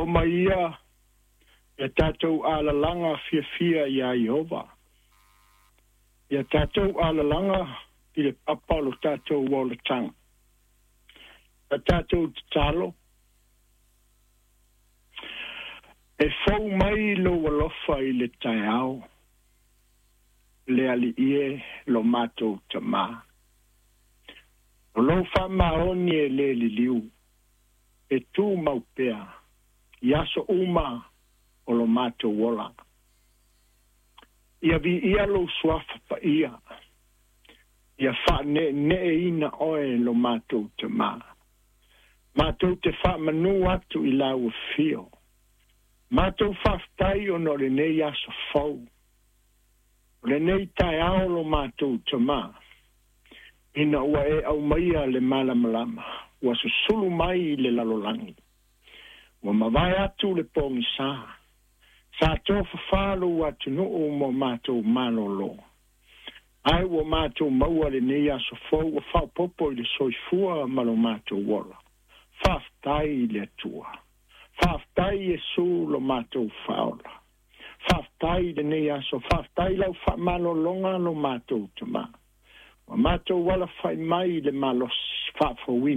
Oo mai ia ia tatou alalaga fiafia iā Ieova, ia tatou alalaga i le papa o lo tatou olataga. Ia tatou tatalo, e fou mai lou alofa i le taeao, le Alii e lo matou Tamā. O lou faamaoni e le liliu, e tumau pea i aso uma o lo matou ola. Ia viia lou suafa paia, ia faaneeneeina oe lo matou Tamā. Matou te faamanu atu i lau afio. Matou faafetai ona o lenei aso fou, o lenei taeao lo matou Tamā, ina ua e aumaia le malamalama, ua susulu mai i le lalolagi. Ua mavae atu le pogisa, sa tofafā lou atunuu mo matou malōlō. Ae ua matou maua lenei aso fou ua faaopoopo i le soifua ma lo matou ola. Faafetai i le Atua. Faafetai Iesu lo matou Faaola. Faafetai i lenei aso, faafetai lau faamalologa lo matou Tamā. Ua matou alafai mai i le malosi faafouina.